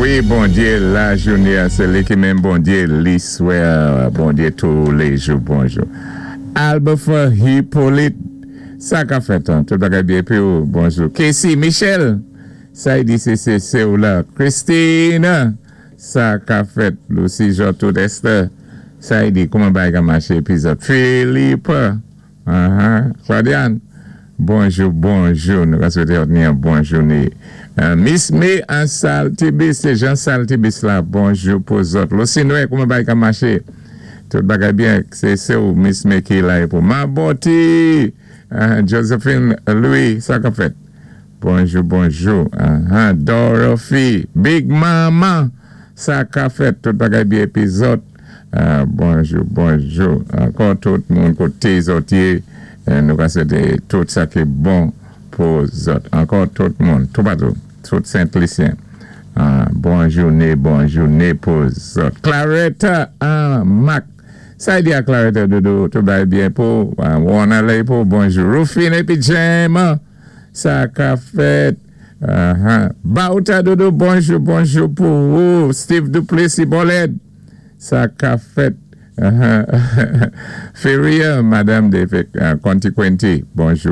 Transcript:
Wi, Bondyé lajounin, sé li ki menm Bondyé liswè, Bondyé touléjou, bonjou. Albefer Hippolyte, sa ka fèt, an? Tout bagay byen pi ou, bonjou. Casey Michel, sa y di sé sé sé ou la. Christine, sa ka fèt. Lucy Jean tout Esther, sa y di, kouman bagay ka maché pi zòt. Philippe, Claudiane, bonjou, bonjou. Nou ka swété ni yon bon jounin. Miss May an Saltibus, sé Jean Saltibus la, bonjou pou zòt. Lucy Noé, kouman bagay ka maché? Tout bagay byen, sé sé ou Miss May ki la pou. Maboti, Josephine Louis, sa ka fèt? Bonjou, bonjou. Dorothy, Big Mama, sa ka fèt? Tout bagay byen pi zòt. Bonjou, bonjou. Ankò tout moun koté zòt yé, nou ka swété tout sa ki bon pou zòt. Ankò tout moun, toupatou, tout Sent Lisyen. Bon jounin, bon jounin pou zòt. Claretta Mac. Sa y di a Claretta Doudou, tout bagay byen pou Warner lé pou bonjou. Rufine épi James, sa ka fèt? Bauta Doudou, bonjou, bonjou pou ou. Steve Duplessis Boled, sa ka fèt? Feria, Madame de Conti Quinty, bonjou.